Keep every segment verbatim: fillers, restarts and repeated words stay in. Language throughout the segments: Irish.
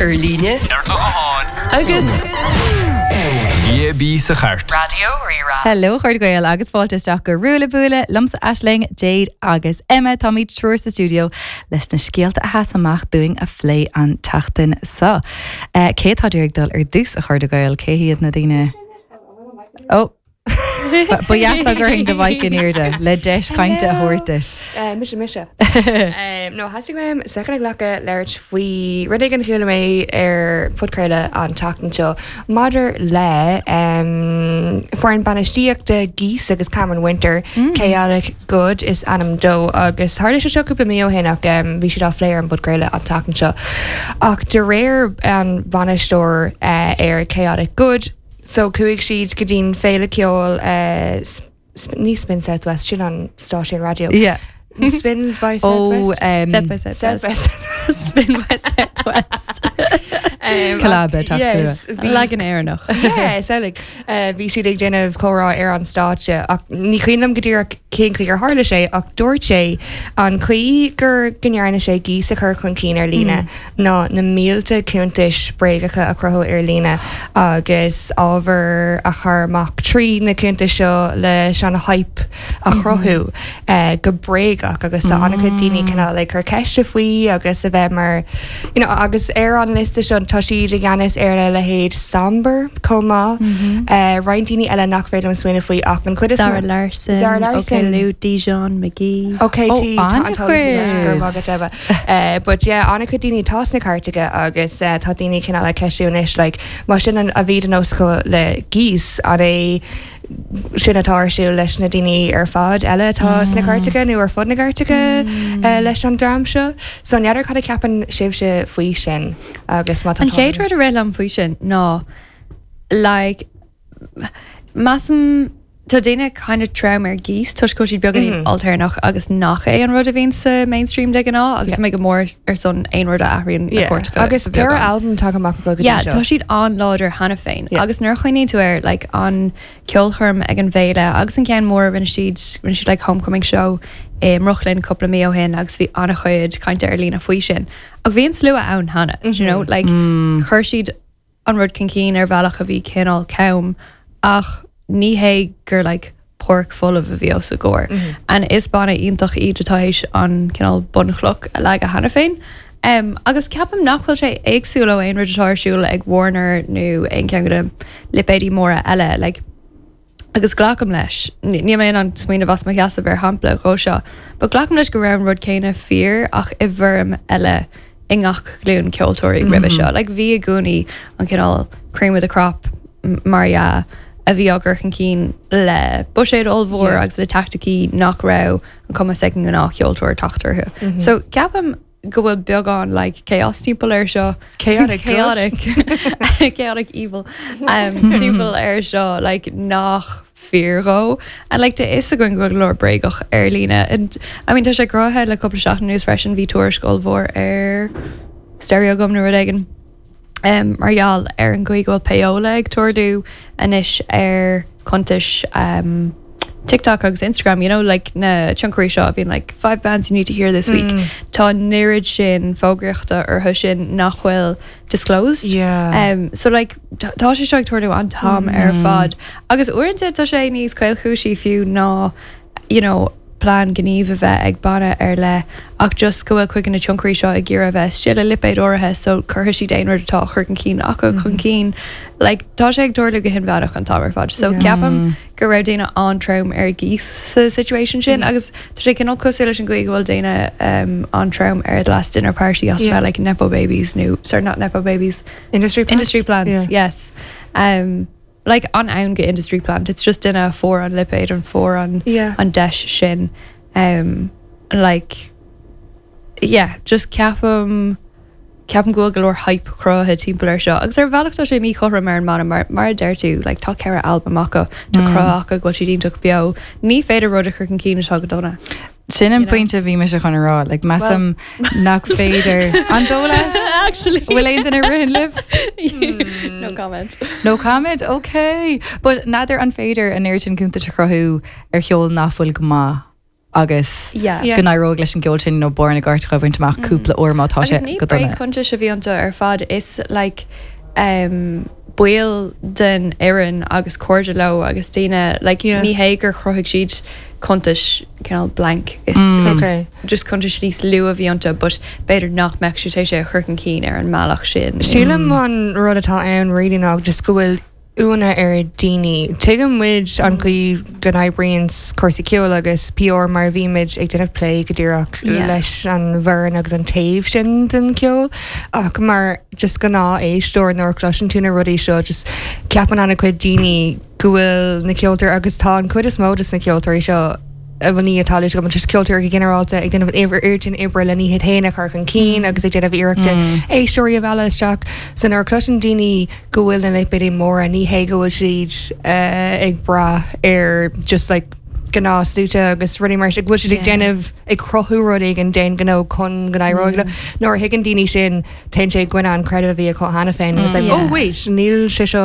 Ar líne Ar do ghuthán agus D A B sa chairt. Raidió Rí-Rá. Hello, a chairde Gael, agus fáilte isteach go Ruaille Buaille liomsa, Aisling, Jade agus Emma. Táimid triúr sa studio leis na scéalta a sheas amach dúinn a phlé an tseachtain seo. Uh, cé tá ag dul ar dtús, a chairde Gael? Cé hiad na daoine? Ó Ba dheas dá gcuirfinn do mhic in airde le deis cainte a thabhairt duit. Uh, mise mise. um, no theastaigh uaim soicind a ghlacadh labhairt faoi rud éigin a chuala mé ar podchraoladh an tseachtain seo maidir le um, foireann bainistíochta Geese agus Cameron Winter mm. Chaotic Good is ainm dó, agus tharla sé seo cúpla mí ó shin, ach um, bhí siad á phlé ar an bpodchraoladh an tseachtain seo. Ach de réir an bhainisteoir uh, ar Chaotic Good, so chuaigh siad go dtí'n féile ceoil uh, sp ní Spin South West, sin an stáisiún raidió. Yeah. Spins by Ó Southwest. um, South by Southwest. South by Spin by Southwest. Um, Collab teacht. Yes, bhí- Leagan Éireannach. Yeah, so like, uh, bhí siad ag déanamh comhrá ar an stáitse, ach ní cuimhin liom go díreach cén chaoi ar tharla sé, ach dúirt sé an chaoi gur go ndearna sé Geese a chur chun cinn ar líne ná na mílte cuntais bréagacha a chruthú ar líne agus ábhar a chur amach trí na cuntais seo leis an hype a chruthú uh, go bréagach, agus tá an-chuid daoine cineál like cur ceiste faoi agus a bheith mar you know, agus ar an liosta seo tá siad i gceannas ar a leithéid Sombr chomh maith, uh, roinnt daoine eile nach féidir liom smaoineamh faoi, ach an chuid is Zara mó- Larson, Zara Larson. Okay, Lou, Dijon McGee. Okay, Oh, tí tá an an-chuid. Uh, but yeah, an-chuid daoine tá sna cairteacha agus uh, tá daoine cineál ag ceistiú anois, like, má sin an a bhí an osco le Geese, an é sin atá ar siúl leis na daoine ar fad eile atá sna cairteacha nó ar fud na gcairteacha uh, leis an dream seo? So n'fheadar cad a cheapann sibhse faoi sin agus má tá An chéad rud a rith liom faoi sin ná, like, measaim tá daoine kind of trom ar Geese toisc go bhfuil siad beagáinín ailtéarnach agus nach é an rud a bhíonn sa mainstream de ghnáth, agus tá mé go mór ar son aon rud a athraíonn na cairteacha Agus a ceithre bheagán. albam tagtha amach go Yeah, tá siad an-láidir cheana féin. Yeah. Agus nuair a chuimhníonn tú ar, like, an ceolchoirm ag an bhféile agus an ceann mór rinne siad rinne siad like homecoming show i mBrooklyn cúpla mí ó shin, agus bhí an-chuid cainte ar líne faoi sin. Ach bhí an slua ann cheana, you know, like, chuir siad an rud chun cinn ar bhealach a bhí cineál cam, ach ní hé gur like páirc folamh a bhí os a gcomhair. And is banna iontach iad atá théis an cineál bunchloch a leagadh cheana féin. Um, agus ceapaim nach bhfuil sé éagsúil ó aon rud atá ar siúl ag Warner nó aon cheann de na lipéidí móra eile, like, agus glacaim leis, ní mé an smaoineamh as mo sheasamh ar shampla dhó seo, but glacaim leis go raibh an rud céanna fíor ach i bhfoirm eile i ngach glúin ceoltóirí roimhe seo. Like, bhí i gcónaí an cineál cream of the crop m- mar dhea a bhí á gcur chun cinn le buiséad ollmhór Yeah. agus le taicticí nach raibh an cumas ag an ngnáthcheoltóir teacht orthu. So ceapaim go bhfuil beagán like chaos timpeall air seo. Chaotic good. chaotic chaotic evil um, timpeall air seo, like, nach fíor dhó, and like tá fhios againn go leor bréagach ar líne, and I mean, tá sé cruthaithe le cúpla seachtain anuas freisin, bhí tuairisc ollmhór ar Stereogum nó rud éigin um, mar gheall ar an gcaoi go bhfuil payola ag tarlú anois ar cuntais um, TikTok agus Instagram, you know, like na tionchairí seo bíonn like "five bands you need to hear this week". Tá an oiread sin fógraíochta orthu sin nach bhfuil disclosed. Yeah. Um, so like tá tá sé seo ag tarlú an t-am ar fad. Agus uaireanta tá sé níos caolchúisí fiú ná you know, plean gníomh a bheith ag banna ar leith, ach just go bhfuil chuig na tionchairí seo ag iarraidh a bheith istigh le lipéad áirithe, so cuirfidh siad aon rud atá chur chun cinn acu chun cinn. Like, tá sé ag tarlú go hinmheánach an t-am ar fad. So Yeah. ceapaim go raibh daoine an-trom ar Geese sa situation sin, agus tá sé cineál cosúil leis an gcaoi go bhfuil daoine um, an-trom ar The Last Dinner Party as Yeah. yeah. like nepo babies nó, sorry, not nepo babies, Industry plant? Industry plants. Yeah. Yes. Um, like an ann go industry plant, it's just duine a fuair an lipéad an fuair an Yeah. an deis sin. um, like, yeah, just ceapaim ceapaim go bhfuil go leor hype cruthaithe timpeall air seo, agus ar bhealach tá sé míchothrom ar an mbanna, mar mar a deir tú, like, tá ceithre albam acu, tá cruthaithe acu go bhfuil siad iontach beo. Ní féidir rud a chur chun cinn atá go dona. Sin an You know? pointe bhí mise chun a rá, like, measaim nach féidir an dóla Actually. Bhfuil aon duine rihin libh? No comment. No comment, okay. But n'fheadar an féidir an oiread sin cuntas a chruthú ar cheol nach bhfuil go maith. agus Yeah. Yeah. go n-éireoidh leis an gceol sin nó barr na gcairteacha a bhaint amach cúpla uair má tá sé Agus ní go dona. bréagchuntais a bhí iontu ar fad is like um, baill den fhoireann agus cairde leo agus daoine like, Yeah. ní hé gur chruthaigh siad cuntais cineál blank is, Mm. is Okay. just cuntais níos lú a bhí iontu but b'fhéidir nach mbeadh siad é a chur chun cinn ar an mbealach sin. Sílim an rud atá ann really ná just go bhfuil ionadh ar daoine. Tuigeann muid an chaoi go n-oibríonn cúrsaí ceoil agus PR mar bhímid ag déanamh plé go díreach Yeah. leis an bhfoireann agus an taobh sin den ceol ach mar just gnáth-éisteoir nuair a chloiseann tú na rudaí seo just ceapann an-chuid daoine go bhfuil na ceoltóirí agus tá an chuid is mó de na ceoltóirí seo a bhní atá go just ceoltóirí go ginearálta ag déanamh oiread sin oibre lena iad féin a chur chun cinn agus ag déanamh iarrachta éisteoirí a mhealladh isteach so nuair a chloiseann daoine go bhfuil na lipéidí móra ní hé go bhfuil siad eh, ag brath ar just like gnáthsluaite agus rudaí mar sin, go bhfuil siad ag Yeah. déanamh ag cruthú rud éigin den ghnó chun go n-éireoidh leo. Nuair a thuigeann daoine sin téann sé i gcoinne an creideamh a bhí acu cheana féin and it's like Yeah. oh wait níl sé seo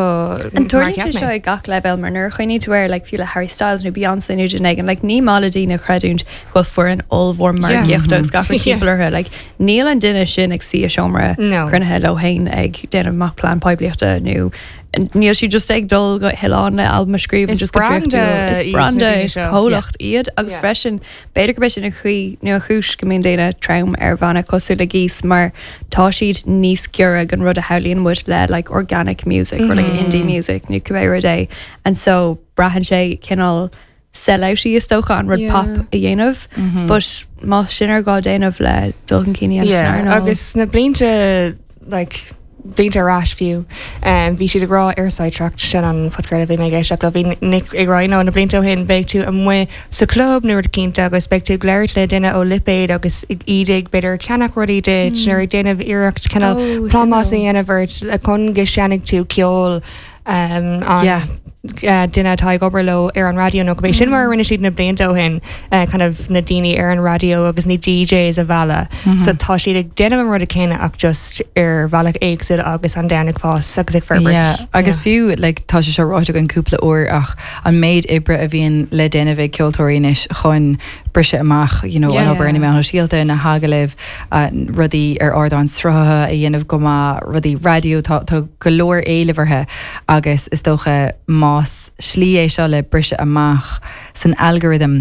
An mar tarlaíonn cheap sé seo mé. ag gach leibhéal mar nuair a chuimhníonn tú air like fiú le Harry Styles nó Beyoncé nó duine éigin like ní maith le daoine creidiúint go bhfuil foireann ollmhór margaíochta agus gach rud Yeah. timpeall orthu like níl an duine sin ag suí i seomra No. cruinnithe leo féin ag déanamh amach plean poiblíochta nó níl siad just ag dul go hoileán le albam a scríobh Is just go branda dréachtúil. iad Is na branda daoine is seo. comhlacht iad agus Yeah. freisin b'fhéidir go sin an chaoi nó an chúis go mbíonn daoine trom ar bhanna cosúil le Geese mar tá siad níos giorra don rud a shamhlaíonn muid le like organic music or like indie music nó cibé rud é and so braitheann sé cineál sellouty is dócha an rud Yeah. pop a dhéanamh but má sin ar gá déanamh le dul chun cinn Yeah, agus na blianta like blianta ar ais fiú um, bhí siad ag rá ar Sidetracked sin an podchraoladh bhí mé ag éisteacht le bhí Nick ag rá nó na blianta ó shin beidh tú amuigh sa club nó rud cinnte agus beidh tú ag labhairt le duine ó lipéad agus iad ag b'fhéidir ceannach rudaí duit nuair ag déanamh iarracht cineál Oh, plámás a suimiúil. dhéanamh ort le chun go seinnfidh tú ceol um, an Yeah. uh, duine atá ag obair leo ar an raidió nó go sin mar a rinne siad na blianta ó shin uh, kind of na daoine ar an raidió agus na DJs a mhealladh. So tá siad ag déanamh an rud céanna ach just ar bhealach éagsúil agus an domhan ag fás agus ag forbairt. Yeah, agus fiú like, tá sé seo ráite againn cúpla uair ach an méid oibre a bhíonn le déanamh ag ceoltóirí anois chun briseadh amach you know, Yeah. an obair na meáin shóisialta na hagallaimh uh, rudaí ar ardáin sruthaithe a dhéanamh go maith rudaí raidió tá tá go leor éilimh orthu agus is dócha más slí é seo le briseadh amach san algorithm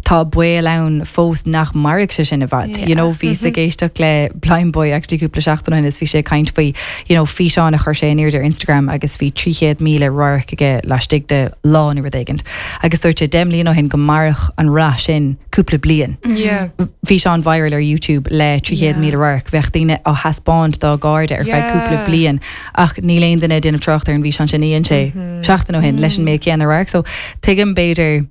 tá baol ann fós nach mairfidh sé sin i bhfad. Yeah. You know, bhí ag éisteacht le Blindboy actually cúpla seachtain ó shin is bhí sé ag caint faoi you know, físeán a chuir sé in airde ar Instagram agus bhí trí chéad míle radharc aige laistigh de lá nó rud éigin. Agus dúirt sé deich mbliana ó shin go mairfeadh an rath sin cúpla bliain. Yeah. Físeán viral ar YouTube le trí chéad Yeah. míle radharc bheadh daoine á thaispeáint dá gcairde ar feadh Yeah. cúpla bliain ach níl aon duine ag déanamh trácht ar an bhfíseán sin a dhein sé seachtain ó shin leis an méid céanna radharc, so tuigim b'fhéidir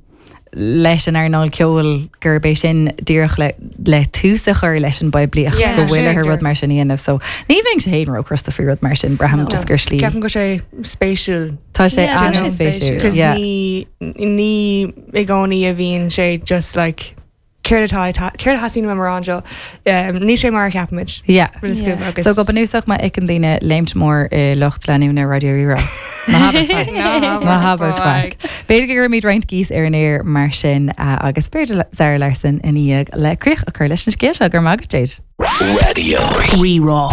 leis an earnáil ceoil gurb é sin díreach le, le tús a chur leis an bpoiblíocht Yeah, go bhfuil sin ar rud ag mar sin a dhéanamh, so ní bheinn sé fhéin róchrosta faoi rud mar sin braithim No. just gur slí. Ceapaim go sé spéisiúil Tá sé Yeah, an tá sé spéisiúil. spéisiúil. Cos Yeah. ní ní i gcónaí a bhíonn sé just like céard atá céard a theastaíonn mar anseo ní sé mar a cheapaimid. Yeah. Yeah. agus So go bunúsach má fheiceann daoine léimt mór i lucht leanúna Raidió Rí-Rá. Ná habair faic. B'fhéidir go gcuirfimid roinnt Geese ar an aer mar sin uh, agus b'fhéidir Zara Larsson ina dhiaidh le críoch a chur leis an scéal seo go maith Jade. Radio. Rí-Rá.